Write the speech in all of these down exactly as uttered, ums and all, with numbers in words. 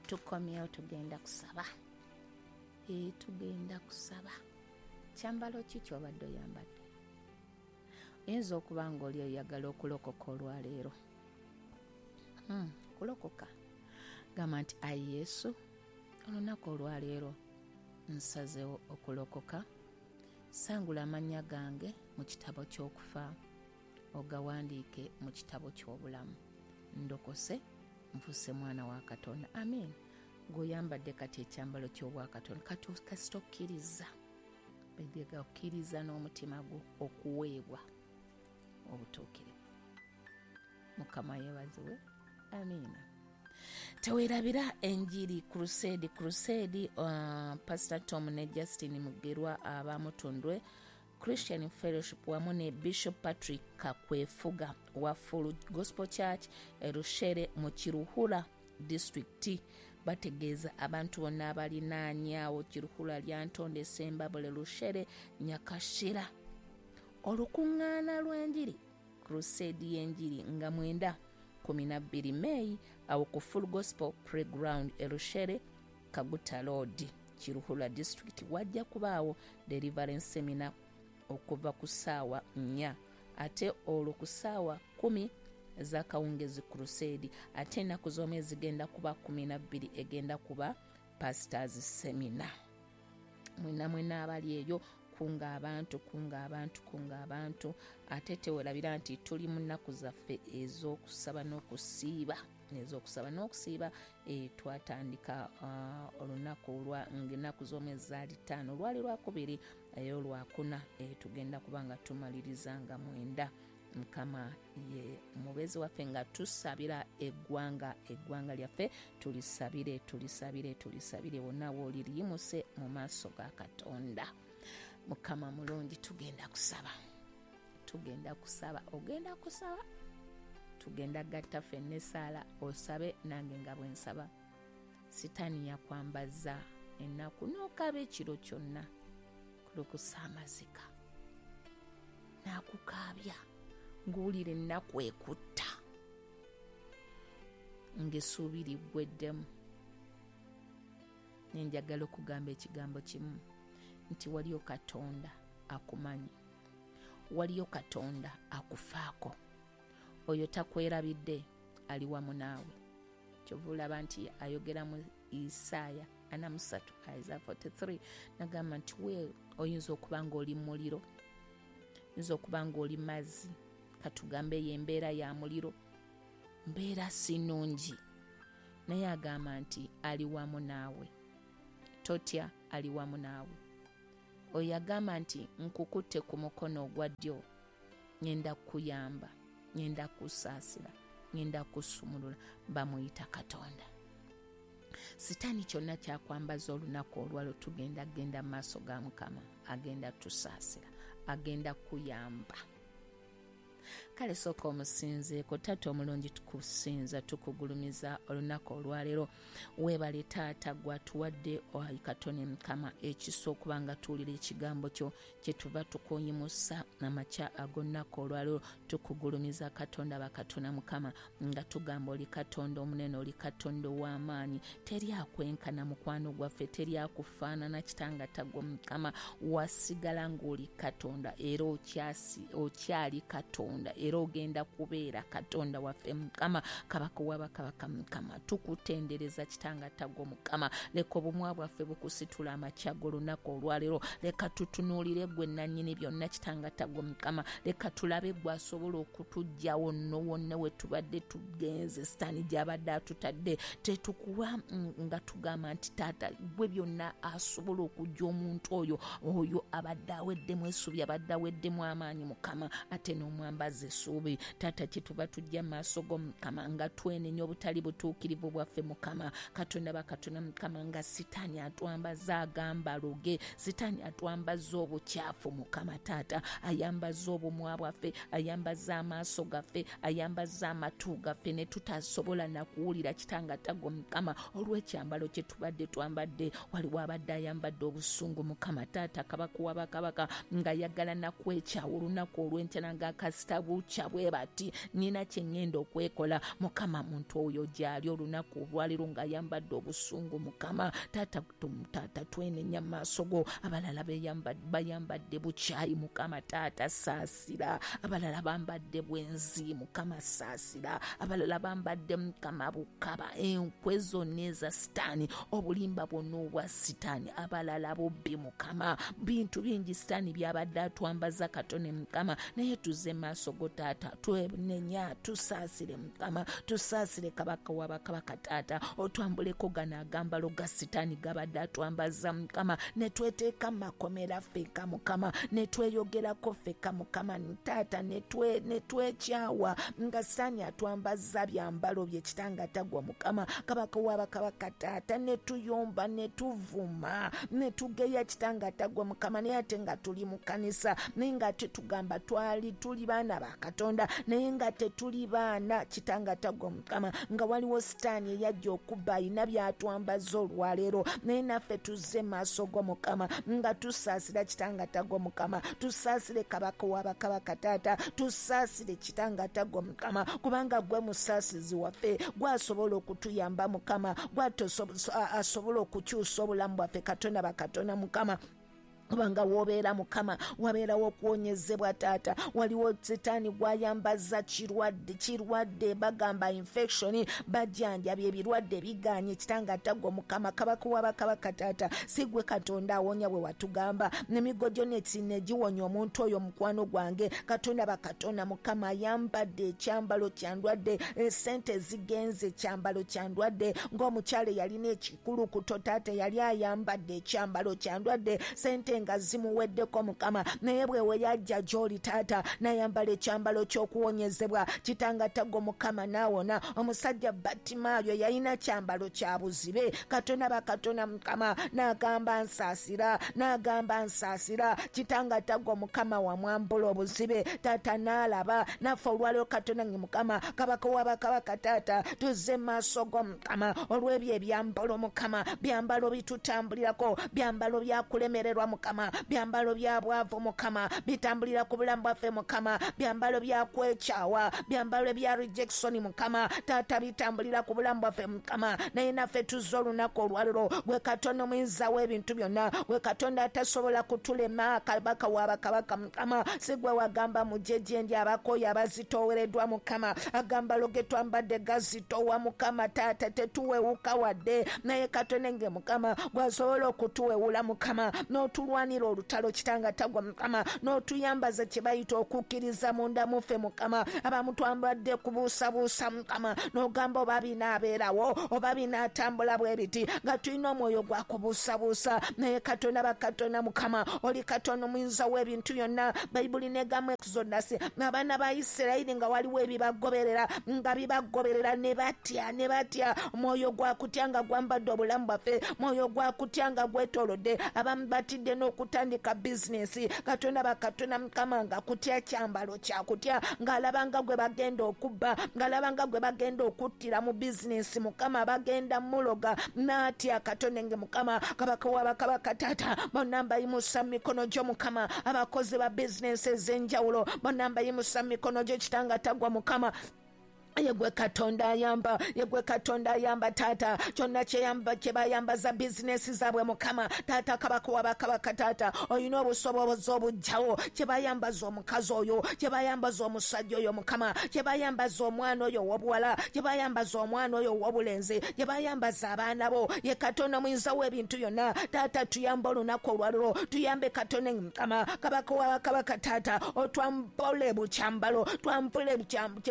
Tukomyewo, tugenda kusaba. E, tugenda kusaba. Kyambalo ki ky'obadde oyambadde? Oyinza okuba ng'oli oyagala okulokoka olwaleero. Hmm, kulokoka. Gamba nti, ayi Yesu, olunaku olwaleero nsazeewo okulokoka. Sangula amannya gange mu kitabo ky'okufa, ogawandiike mu kitabo ky'obulamu. Ndokose, nfuuse mwana wa Katonda. Amen. Gw'oyambadde kati ekyambalo ky'obwakatonda, kati kasita okkiriza, bega okkiriza n'omutima gwo okuweebwa obutuukirivu. Mukama yeebazibwe. Amiina. Teweerabira enjiri Crusade, Crusade, uh, Pastor Tom ne Justin Mugerwa abamutundwe Christian Fellowship wamu ne Bishop Patrick Kakwefuga wa Full Gospel Church Erushere mu Kiruhura District bategeeza abantu bonna abalinaanyaawo Kiruhura, Lyantonde, Sembabule, Rushere, Nyakashira olukuŋŋaana lw'enjiri Crusade y'enjiri nga mwenda kumi na bbiri May awo ku Full Gospel Playground Erushere, Kaguta Road, Kiruhura District. Wajja kubaawo deliverance seminar okuva ku ssaawa nnya, ate olwo ku ssaawa kkumi ez'akawungezi crusade, ate ennaku z'omwezi zigenda kuba kkumi na bbiri egenda kuba pastors seminar. Mwena mwena abali eyo, kunga abantu, kunga abantu, kunga abantu. Ate tewerabira nti tuli mu nnaku zaffe ez'okusaba n'okusiiba, ez'okusaba n'okusiiba. E, twatandika uh, olunaku olwa ng'ennaku z'omwezi zaali ttaano, lwali lwakubiri, eyo lwakuna. E, tugenda kuba nga tumaliriza nga mwenda. Mukama ye mubeezi waffe nga tusabira eggwanga, eggwanga lyaffe tulisabire, tulisabire, tulisabire. Wonna wooli liyimuse mu maaso ga Katonda. Mukama mulungi. Tugenda kusaba, tugenda kusaba, ogenda kusaba, tugenda gatta ffenna essaala, osabe nange nga bwe nsaba. Sitaani yakwambaza ennaku n'okaaba ekiro kyonna, kulukusa amazika n'akukaabya ng'owulira ennaku ekutta, ng'essuubi liggweddemu. Nenjagala okugamba ekigambo kimu nti waliyo Katonda akumanyi, waliyo Katonda akufaako, oyo takwerabidde, ali wamu naawe. Kyova olaba nti ayogera mu Isaaya ana mu ssatu, Isaiah forty-three, nagamba nti we oyinza okuba ng'oli muliro, oyinza okuba ng'oli mazzi, katugambe eyo embeera ya muliro, mbeera si nnungi, naye agamba nti ali wamu naawe, totya, ali wamu naawe. Oyo agamba nti nkukutte ku mukono ogwa ddyo, ŋŋenda kukuyamba, ŋŋenda kusaasira, ŋŋenda kusumulula, bamuyita Katonda. Sitaani kyonna kyakwambaza olunaku olwalo, tugenda genda mu maaso ga Mukama, agenda tusaasira, agenda kuyamba. Kale sooka omusinzeeko. Taata omulungi, tukusinza, tukugulumiza olunaku olwaleero. Weebale taata, gwatuwadde Katonda Mukama ekisa okuba nga tuwulira ekigambo kyo. Kyetuva tukuyimusa amakya ag'olunaku olwaleero, tukugulumiza Katonda bakatonda Mukama, nga tugamba oli Katonda omunene, oli Katonda ow'amaanyi, teri akwenkana mukwano gwaffe, teri akufaanana kitanga tagwa. Mukama, wasigala ng'oli Katonda era okyali Katonda era ogenda kubeera Katonda waffe Mukama, Kabaka wabakabaka. Mukama, tukutendereza kitanga tagwa. Mukama, leka obumwa bwaffe bukusitula amakya g'olunaku olwaleero. Leka tutunuulire gwe nannyini byonna kitanga tagwa. Mukama, leka tulabe gwe asobola okutuggyawo nno wonna we tubadde tugenze, sitaani gy'abadde atutadde. Tetukuwa nga tugamba nti taata gwe byonna asobola okujja omuntu oyo oyo abadde aweddemu essuubi, abadde aweddemu amaanyi, Mukama, ate n'omwambaza essuubi. Taata, kyetuva tujja mu maaso go Mukama nga twenenya obutali butuukirivu bwaffe. Mukama Katonda bakatonda Mukama, nga sitaani atwambaza agambalo ge, sitaani atwambaza obukyafu. Mukama taata, ayambaza obumwa bwaffe, ayambaza amaaso gaffe, ayambaza amatu gaffe, ne tutasobola nakuwulira kitanga tago Mukama, olw'ekyambalo kye tubadde twambadde. Waliwo abadde ayambadde obusungu, Mukama taata, kabaka wabakabaka, ng'ayagala nakwekyawa olunaku olw'enkya, nga kasita bukya bwe bati, nina kye ŋŋenda okwekola. Mukama muntu oyo gy'ali olunaku olwaleero ng'ayambadde obusungu, Mukama taata, taata twenenya mu maaso go. Abalala bayambadde bukyayi, Mukama taata saasira. Abalala bambadde bwenzi, Mukama saasira. Abalala bambadde Mukama bukaba, enkwe zonna eza sitaani, obulimba bwonna obwa sitaani. Abalala bubbi, Mukama, bintu bingi sitaani byabadde atwambaza katone Mukama, naye tuzze maaso go taata, twenenya, tusaasire Mukama, tusaasire kabaka w'abakabaka taata, otwambuleko gano agambalo ga sitaani gabadde atwambaza Mukama, ne tweteeka mu makomera ffekka Mukama, ne tweyogerako ffekka Mukama taata, ne twekyawa nga sitaani atwambaza byambalo bye kitanga tagwa Mukama, kabaka w'abakabaka taata, ne tuyomba ne tuvuma ne tugeya kitanga tagwa Mukama, naye ate nga tuli mu kanisa, naye nga tetugamba twali tuli baana ba Katonda, naye nga tetuli baana kitanga tagwa Mukama, nga waliwo sitaani eyajja okubba ayina byatwambaza olwaleero, naye naffe tuzze maaso go Mukama nga tusaasira kitanga tagwa Mukama, tusaasire kabaka w'abakabaka taata, tusaasire kitanga tagwa Mukama, kubanga gwe musaasizi waffe, gwasobola okutuyamba Mukama, gwasobola okukyusa obulamu bwaffe Katonda bakatonda Mukama. Kubanga wobeera Mukama wabeerawo okuwonyezebwa taata. Waliwo sitaani gwayambaza kirwadde, kirwadde bagamba infection, bajjanjabye ebirwadde biganye kitanga tagwa Mukama, kabaka w'abakabaka taata, si gwe Katonda awonya bwe watugamba, n'emigo gyo negiwonya omuntu oyo mukwano gwange Katonda bakatonda Mukama, ayambadde ekyambalo kya ndwadde, esente zigenze ekyambalo kya ndwadde, ng'omukyala yalina ekikulukuto taata yali ayambadde ekyambalo kya ndwadde, sente nga zimuweddeko Mukama, naye bwe we yajja gy'oli taata n'ayambala ekyambalo ky'okuwonyezebwa kitanga tagwa Mukama n'awona. Omusajja Battimaayo yalina kyambalo kya buzibe, Katonda bakatonda Mukama n'agamba nsaasira, n'agamba nsaasira, kitanga tagwa Mukama wamwambula obuzibe taata n'alaba. Naffe olwaleero Katonda nge Mukama kabaka w'abakabaka taata, tuzze maaso go Mukama olw'ebyo ebyambalo Mukama, byambalo bitutambulirako, byambalo byakulemererwa Mukama, byambalo bya bwavu Mukama, bitambulira ku bulamu bwaffe Mukama, byambalo bya kwekyawa, byambalo bya rejection Mukama taata, bitambulira ku bulamu bwaffe Mukama, naye naffe tuzze olunaku olwaleero gwe Katonda omuyinza w'ebintu byonna, gwe Katonda atasobola kutulema, kabaka w'abakabaka Mukama, si gwe wagamba mujje gye ndi abakooye abazitoowereddwa Mukama, agambalo ge twambadde gazitoowa Mukama taata, tetuwewuka wadde, naye Katonda nge Mukama gwasobola okutuwewula Mukama, n'otulwanira olutalo kitanga tagwa Mukama, n'otuyambaza kye bayita okukkiriza munda muffe Mukama. Abamu twambadde kubuusabuusa Mukama, n'ogamba oba binaabeerawo oba binaatambula bwe biti, nga tulina omwoyo gwa kubuusabuusa, naye Katonda bakatonda Mukama, oli Katonda omuyinza w'ebintu byonna. Bayibuli negamba Exodus, abaana ba Isirayiri nga waliwo ebibagoberera, nga bibagoberera ne batya, ne batya, omwoyo gwa kutya nga gwambadde obulamu bwaffe, mwoyo gwa kutya nga gwetoolodde, abamu batidde n'okutandika bizinesi, Katonda bakatonda Mukama nga kutya kyambalo kya kutya, ng'alaba nga gwe bagenda okubba, ng'alaba nga gwe bagenda okuttira mu bizinesi Mukama, bagenda muloga n'atya. Katonda nge Mukama kabaka w'abakabaka taata, bonna mbayimusa mu mikono gyo Mukama, abakozi ba bizinesi ez'enjawulo bonna mbayimusa mu mikono gyo kitanga tagwa Mukama. Yegwe Katonda ayamba, yegwe Katonda ayamba taata, kyonna kyeyamba kye bayambaza bizinesi zaabwe Mukama taata, kabaka w'abakabaka taata, olina obusobozi obuggyawo kye bayambaza omukazi oyo, kye bayambaza omusajja oyo Mukama, kye bayambaza omwana oyo ow'obuwala, kye bayambaza omwana oyo ow'obulenzi, kye bayambaza abaana bo. Ye Katonda omuyinza w'ebintu byonna taata, tuyambe olunaku olwaleero, tuyambe Katonda Mukama kabaka w'abakabaka taata, otwambule bukyambalo, twambule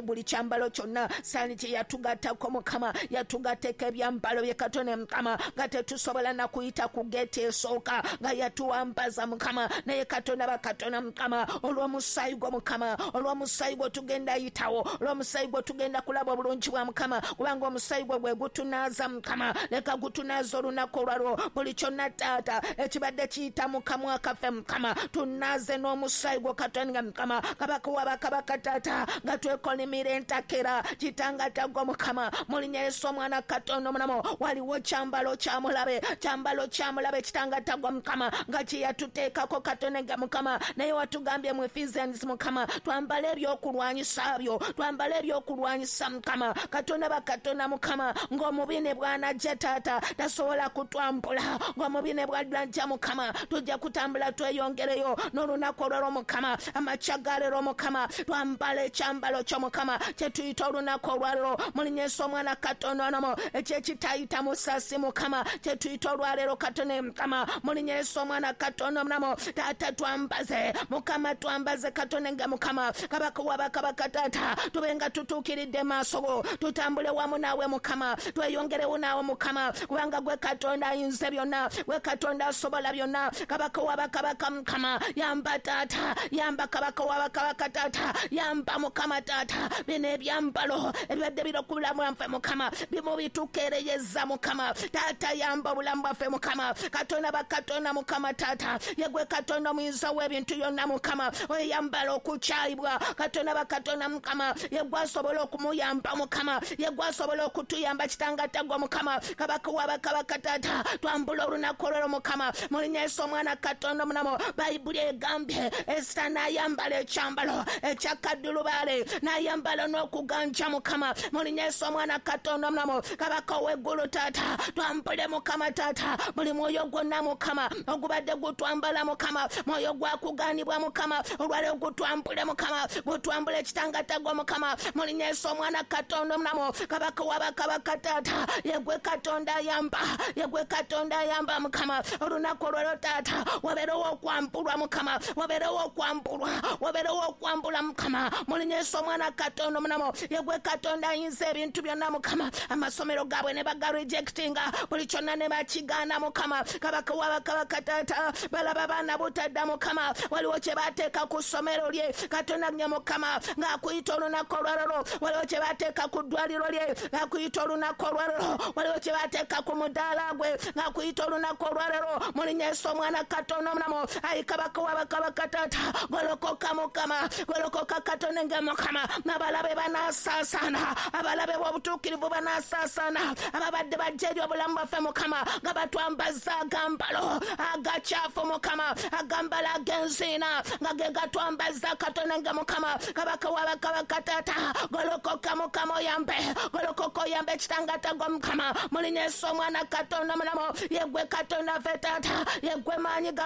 buli kyambalo kyonna sitaani kye yatugattako Mukama, yatugatteko ebyambalo bye Katonda Mukama, nga tetusobola na kuyita ku geeti esooka, nga yatuwambaza Mukama, naye Katonda bakatonda Mukama, olw'omusaayi gwo Mukama, olw'omusaayi gwo tugenda yitawo, olw'omusaayi gwo tugenda kulaba obulungi bwa Mukama, kubanga omusaayi gwo gwe gutunaaza Mukama, leka gutunaaza olunaku olwalwo buli kyonna taata ekibadde kiyita mu kamwa kaffe Mukama, tunaaze n'omusaayi gwo Katonda Mukama, kabaka w'abakabaka taata, nga twekolimira entakera Kitanga tagwa Mukama, mu linnya Yesu omwana Katonda omulamu. Waliwo kyambalo kya mulabe, kyambalo kya mulabe kitanga tagwa Mukama, nga kye yatuteekako Katonda Mukama. Naye watugambye mu Ephesians Mukama, twambale ebyokulwanyisa byo, twambale ebyokulwanyisa Mukama. Katonda bakatonda Mukama, ng'omubi ne bw'anajja taata tasobola kutwambula, ng'omubi ne bw'anajja Mukama tujja kutambula tweyongereyo n'olunaku olw'olwo Mukama. Amakya ga leero Mukama, twambale ekyambalo kyo Mukama kye tuyita olunaku olwaleero mu linnya Yesu omwana Katonda onomo, ekyekitayita musasi Mukama kye tuyita olwaleero Katonda Mukama, mu linnya Yesu omwana Katonda omulamu. Taata twambaze Mukama, twambaze Katonda nga Mukama, Kabaka wa bakabaka taata, tube nga tutuukiridde maaso go, tutambule wamu naawe Mukama, tweyongerewo naawe Mukama, kubanga gwe Katonda ayinza byonna, gwe Katonda asobola byonna. Kabaka wa bakabaka Mukama, yamba taata, yamba Kabaka wa bakabaka taata, yamba Mukama taata, bino ebyambalo ebibadde birokubulamu bwaffe Mukama, bimu bitukeereyeza Mukama taata, yamba obulamu bwaffe Mukama. Katonda bakatonda Mukama taata, ye gwe Katonda omuyinza w'ebintu byonna Mukama, oyambala okukyayibwa Katonda bakatonda Mukama, ye gwe asobola okumuyamba Mukama, ye gwe asobola okutuyamba kitanga tagwa Mukama. Kabaka wa bakabaka taata, twambula olunaku olw'olwo Mukama, mu linnya Yesu omwana Katonda omulamu. Bayibuli egambye Esita n'ayambala ekyambalo ekya kaddulubaale, n'ayambala n'okuganja Mukama, mu linnya Yesu omwana Katonda omulamu. Kabaka ow'eggulu taata, twambule Mukama taata, buli mwoyo gwonna Mukama ogubadde gutwambala Mukama, mwoyo gwakugaanibwa Mukama, olwaleero gutwambule Mukama, gutwambule kitanga tagwa Mukama, mu linnya Yesu omwana Katonda omulamu. Kabaka wa bakabaka taata, ye gwe Katonda ayamba, ye gwe Katonda ayamba Mukama. Olunaku olwaleero taata, wabeerewo okwambulwa Mukama, wabeerewo okwambulwa, wabeerewo okwambula Mukama, mu linnya Yesu omwana Katonda omulamu. Ye gwe Katonda ayinza ebintu byonna Mukama, amasomero gaabwe ne bagarejectinga, buli kyonna ne bakigaana Mukama. Kabaka wa bakabaka taata, balaba baana butadda Mukama, waliwo kye bateeka ku ssomero lye Katonda nye Mukama, ng'akuyita olunaku olwaleero, waliwo kye bateeka ku ddwaliro lye ng'akuyita olunaku olwaleero, waliwo kye bateeka ku mudaala gwe ng'akuyita olunaku olwaleero, mu linnya Yesu omwana Katonda omulamu. Ayi Kabaka wa bakabaka taata, golokoka Mukama, golokoka Katonda nga Mukama, n'abalabe banasaasaana, abalabe b'obutuukirivu banasaasaana, ababadde bajja eri obulamu bwaffe Mukama, nga batwambaza agambalo agakyafu Mukama, agambalo ag'enziina nga ge gatwambaza Katonda nga Mukama. Kabaka wa bakabaka taata, golokoka Mukama oyambe, golokoka oyambe kitanga tagwa Mukama, mu linnya Yesu omwana Katonda omulamu. Ye gwe Katonda ffe taata, ye gwe maanyi gaffe.